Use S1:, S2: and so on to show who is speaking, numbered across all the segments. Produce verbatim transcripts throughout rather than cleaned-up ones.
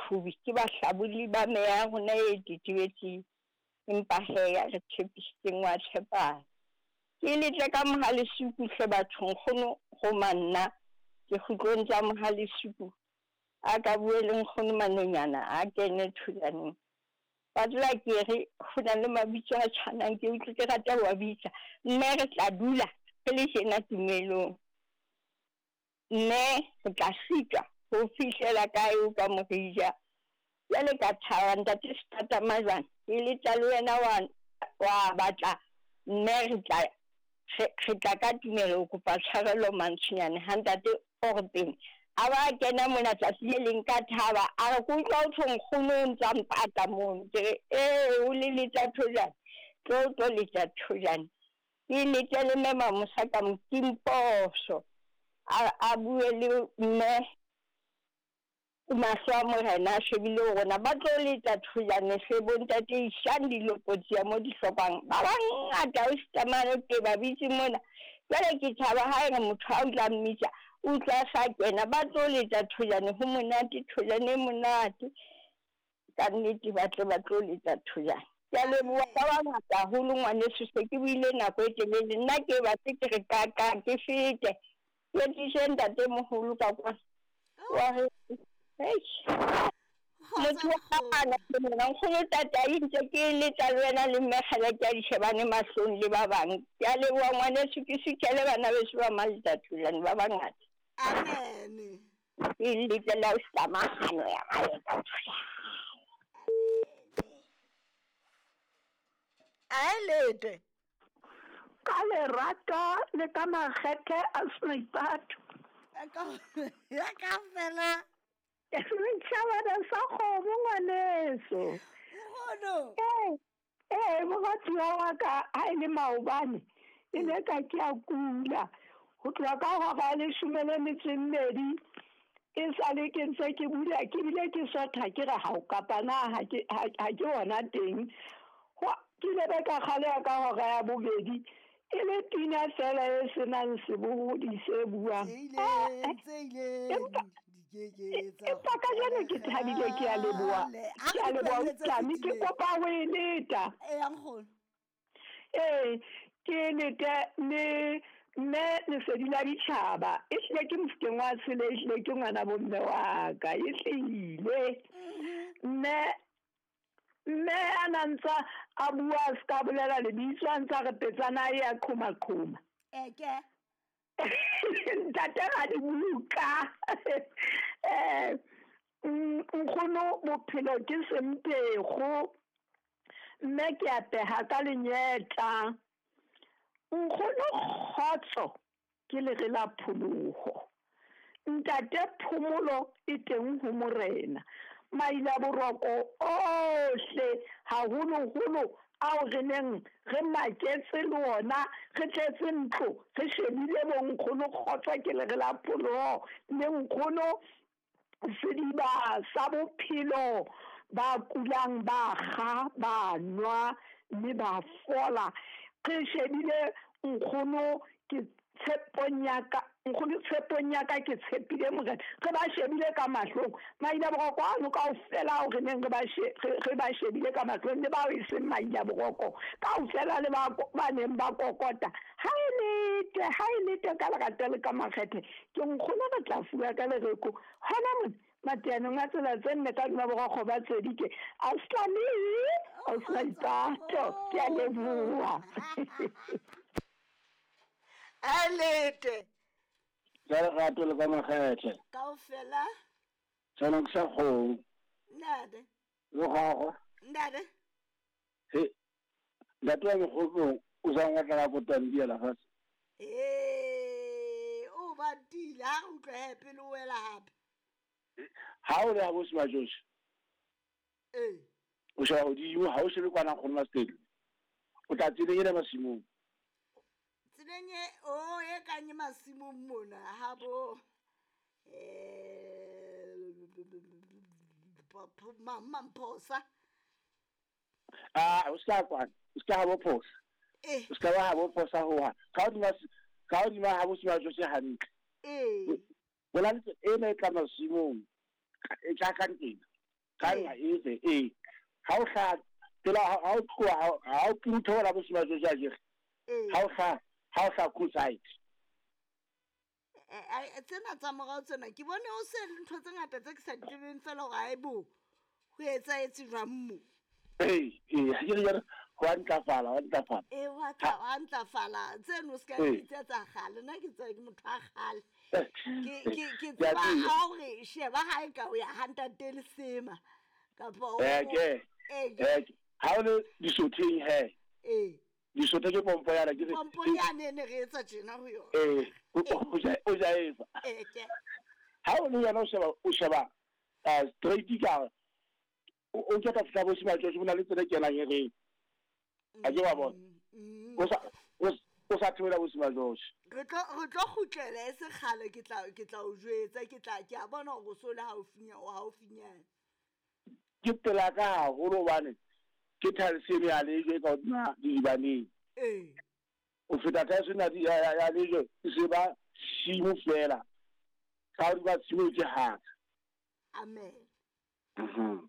S1: Qhubi ke bahlabulli ba meya ya rona e tetebetseng, empa he ya re tshepisitseng wa tshepahala. Ke letle ka Mohalesuku hle batho, nkgono roma nna ke kgutlong tsa Mohalesuku. A ka bue le nkgono Manonyana a kene thulaneng. Ba tla ke re ho na le mabitso a tshwanang, ke utlwe ke rata ho wa bitsa. Mme re tla dula re le tjena tumelong, mme re tla sitwa ho fihlela kae o ka morija. Jwale ka thaba ntate Setata Majwane, ke letla le wena wa wa batla, mme re tla re tla ka tumelo ho kopa tshwarelo Mantsonyane ha ntate o re pele a ba kena mona tsatsi le leng ka thaba, a re ke utlwa ho thwe nkgono o ntsa mpata mono. Ke re ee, o le letsa thojane, tlo tlo letsa thojane. Ke lete le mme Mamosa ka Mokimposo a a bue le mme mahlo a morena a shebile ho rona, ba tlo letsa thojane hle bontate, isang dilopotsi ya mo di hlokang. Ba bangata o sitamane ke ba bitse mona. Jwale ke thaba ha e re motho ha o tla mmitsa o utlwa sa kena, ba tlo letsa thojane, ho monate, thojane e monate ka nnete, ba tle ba tlo letsa thojane. Ke a leboha ba bangata haholo ngwaneso, se ke buile nako e telele, nna ke batle ke re ka ka ke fete ke tlise ntatemoholo ka kwa wa re motho wa ana ke mona nkgono Tatai, ntse ke letsa le wena le mme kgale ke a di shebane mahlong le ba bang. Ke a leboha ngwaneso, ke suthele bana beso ba Maletatolane ba bangata.
S2: Amen.
S1: Ke letlela o samahano ya gae.
S2: A lete
S3: ka lerato le ka makgethe a Seipato.
S2: Ya ka fela
S3: setšhabana sa kgomo ngwaneso.
S2: Nkgono.
S3: Ee, ee, moratiwa wa ka ha e le maobane e ne ka ke a kula ho tloha ka hora ya leshome le metso e mmedi, e sale ke ntse ke bula, ke bile ke sotha ke re hao kapa na ha ke ha ke ona teng. Ke ile be ka kgaleha ka hora ya bobedi, e le pina fela e senang sebohodi se buang. Empa kajeno ke thabile, ke a leboha, ke a leboha Tlami, ke kopa ho e leta. Ee, ke lete le mme lesedi la ditjhaba, e hlile ke mofokeng wa tshele, e hlile ke ngwana bomme wa ka, e hlile mme mme a na ntsa a bua a ska bolela lebitso, a ntsa re petsana e ya qhoma qhoma.
S2: Eke
S3: ntate ga di buka. Eh, nkgono bophelo ke sempego, mme ke apeha ka lenyetla. Nkgono kgotso ke lere la pholoho, ntate phomolo e teng ho morena. Maila boroko ohle haholoholo ao re neng re maketse le ona, re tletse ntlo re shebile bo nkgono kgotso ke lere la pholoho le nkgono sediba sa bophelo. Ba kulang ba kga ba nwa mme ba fola. Re shebile nkgono ke tshepong ya ka, nkgono tshepong ya ka ke tshepile morena. Re ba shebile ka mahlong maila boroko ano kaofela ao re neng re ba re ba shebile ka mahlong, le bao e seng maila boroko kaofela, le ba ba neng ba kokota. Ha e lete, ha e lete ka lerato le ka makgethe, ke nkgono re tla fuwa ka lereko hona mona mateanong a tsela tse nne ka dima borokgo ba tsedike. Auslane, Auslaipato, ke a leboha.
S2: A lete
S4: ka lerato le ka makgethe
S2: kaofela.
S4: Tshwana ke sa kgomo.
S2: Ntate.
S4: Le gagwe.
S2: Ntate.
S4: He ntate wa mokgokong o sa ngotla ka kotandi ya lefatshe.
S2: Ee, o batile ha re utlwa he pele o wela hape.
S4: Ha o le ha bo Semajose.
S2: Ee.
S4: O sheba hodimo, ha o shebe kwana nkgono Maseli. O tla tseleng ena masimong.
S2: Tseleng e o e kanye masimong mona ha bo eh Mamphosa.
S4: Ah, o ska kwana, o ska ha bo phosa.
S2: Eh.
S4: O ska ba ha bo phosa ho ha. Ka hodima ka hodima ha bo Semajose hantle.
S2: Eh.
S4: Bona ntse ena e tla masimong e tla ka ntena. Ka nqa efe ee ha o hlaha pela ha o tloha ha o theola bo Semajojo akere. Ha o hlaha ha o hlaha Coolside.
S2: Tsena tsa morao tsena ke bone o se ntho tse ngata tse ke sa di tsebeng fela hore aebo ho etsahetse jwang mo.
S4: Ee, ee, ha ke re jwale ho a ntlafala, ho a ntlafala.
S2: Ee, ho a tla- ho a ntlafala. Tseno o se ka
S4: Ee.
S2: bitsa tsa kgale. Nna ke tseba ke motho wa kgale. Ke ke ke
S4: Ke a
S2: tseba
S4: tseba.
S2: ha hore sheba ha e ka o ya ha ntate Lesema kapa o
S4: Eh, ke
S2: ee ke
S4: eh ha o le disotheng he.
S2: Ee.
S4: Disotho ke pompo yana ke re
S2: Pompo yane ne re etsa tjena ho yona.
S4: Eh, o o ja o ja efa.
S2: Ee ke.
S4: Ha o le yona o sheba o sheba eh straight ka o o keta fihla bo Semajojo bo na le tsela e kenang e reng. A ke wa bona.
S2: Mm.
S4: O sa o o sa theola bo Semajojo.
S2: Re tlo re tlo kgutlela e se kgale ke tla ke tla o jwetsa ke tla ke a bona hore o so le haufinya o haufinyana.
S4: Ke pela ka haholo hobane ke thaleseng ya lejwe e ka hodima didibaneng.
S2: Ee.
S4: O feta thaleseng ya ya ya ya lejwe e se ba tshimo fela. Ka hodima tshimo ke haka.
S2: Amen.
S4: Mhm.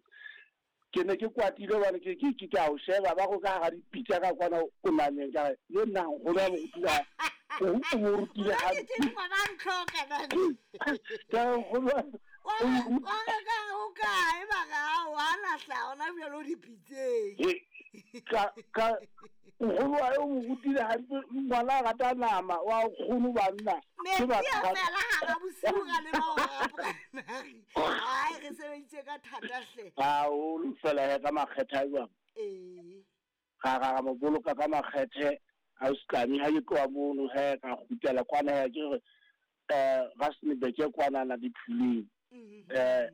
S4: Ke ne ke kwatile hobane ke ke ke a o sheba ba go ka hara dipitsa ka kwana o nameng ka re le nna nkgono wa mo rutile o o mo rutile
S2: Nna ke
S4: hampe.
S2: teng ngwana a ntlhoka nani.
S4: Ka re nkgono wa
S2: Wa
S4: o
S2: re
S4: mo
S2: wa re ka o kae ba re ao ha na hlaha hona jwale o dipitseng.
S4: He, ka ka nkgono wa o mo rutile hampe ngwana a rata nama wa nkgono banna ke
S2: Metsi a
S4: batho ba
S2: fela hara bosiu ra leba hora primary. Ai re sebeditse ka thata hle.
S4: Haholo fela he ka makgethe a jwang.
S2: Ee.
S4: Ra ra ra mo boloka ka makgethe a Setlami ha ke tloha mono he ka kgutlela kwana he ke re eh Rustenburg ke kwanana diphuleng.
S2: Mhm.
S4: Eh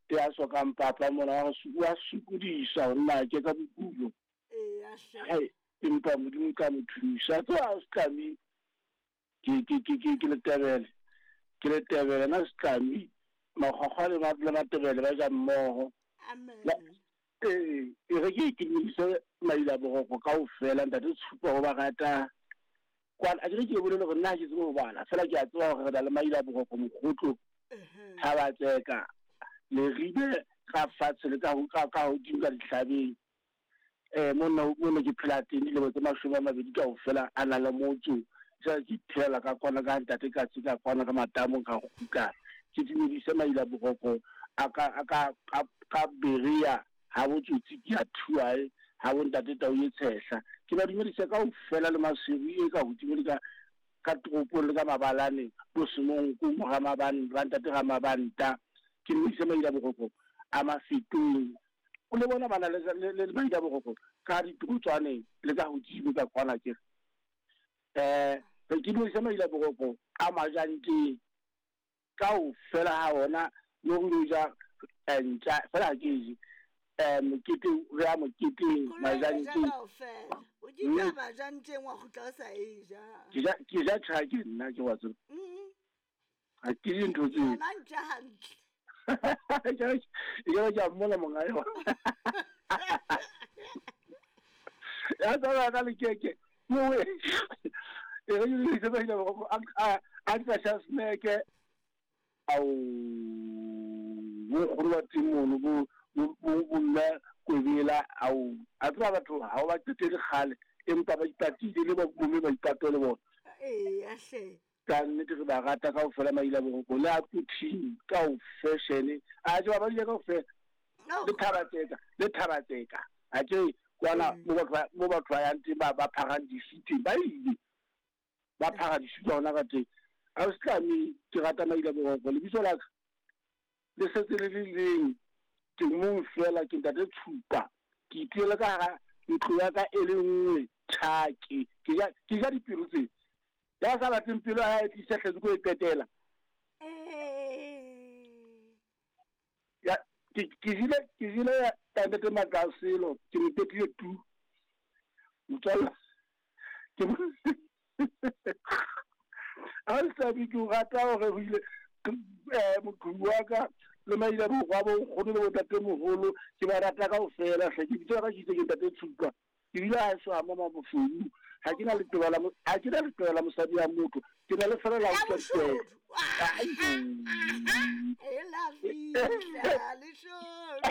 S4: ya sokang papa mona wa re wa sokodisa ho nna ke ka bokulo.
S2: Ee a hle.
S4: Hai empa Modimo ka mo thusa. Tloha Setlami ke ke ke ke ke Letebele. Ke Letebele na Setlami makgwakgwa le ma le Matebele ba ja mmoho.
S2: Amen.
S4: Ee, e re ke itumedise maila boroko kaofela ntate Tshupa ho ba rata. Kwana a ke re ke bolele hore nna ha ke tsebe ho bala fela ke a tseba hore re na le maila boroko Mokgotlo,
S2: Ehe.
S4: Thabatseka, Leribe ka fatshe le ka ho ka ka hodimo ka dihlabeng. Eh monna mona ke phela teng dilemo tse mashome a mabedi kaofela a na le motso. Jwale ke iphelela ka kwana ka ntate ka tse ka kwana ka matamo ka kgutla. Ke dumedise maila boroko a ka a ka ka ka Berea ha botsotsi ke a thuae ha bo ntate Tau e tshehla. Ke ba dumedise kaofela le Maseru e ka hodimo le ka ka toropong le ka mabalane bo Semonko mo Ramabanta ba ntate Ramabanta. Ke dumedise maila boroko a Mafetong. O le bona bana le le le maila boroko ka ditorotswaneng le ka hodimo ka kwana ke. Eh ke dumedise maila boroko a Majanteng kaofela ha ona le ho ja ntja fela ha ke je. Eh mokete re ya moketeng
S2: Koloi e ja
S4: Majanteng.
S2: kaofela. O ke
S4: Mme
S2: ja Majanteng wa kgutla o sa e ja.
S4: Ke ja ke ja tjha ke nna ke wa tseba.
S2: Mhm.
S4: Ha ke je ntho tseo.
S2: Yona ntja hantle.
S4: Ke ke ke a mmola monga yona. Ya tsaba ka lekeke. Mowe. E re ke le ba ile go a a a ka sha sneke. Au bo nkgono ba teng mono bo bo bo mme Kwebela au a tseba batho ha o ba qetele kgale empa ba ipatile le ba bomme ba ipato le bona.
S2: Ee a hle.
S4: Ka nnete re ba rata kaofela maila boroko le a Putin ka o fashion a tseba ba ile kaofela
S2: No.
S4: le Thabatseka le Thabatseka a ke kwana
S2: Mm.
S4: mo batho ba mo batho ba yang teng ba ba pharang disutu ba ile ba phara disutu hona ka teng. A Setlami ke rata maila boroko lebitso la ka le setse le le leng ke mong fela ke ntate Tshupa. Ke itulela ka hara ntlo ya ka e le nngwe tjhake. Ke ja ke ja dipelo tse. Ya sa batleng pelo ya hae e tlise hletse ko e qetela.
S2: Eh.
S4: Ya ke ke jile ke jile ya ntate Matlaselo ke mo qetile tu. Motswalla ke mo A Setlami ke o rata hore ho ile eh moqhubu wa ka le maila borwa bo nkgono le bontatemoholo ke ba rata kaofela hle. Ke bitso la ka ke itse ke ntate Tshupa. Ke bile ha eso ha mama Mofeu. Ha ke na letoba la mo- ha ke na letoba la mosadi ya motho. Ke na le fela la
S2: Ya
S4: utlwa
S2: boshodu.
S4: ditaba. Ai,
S2: E la fihla leshodu.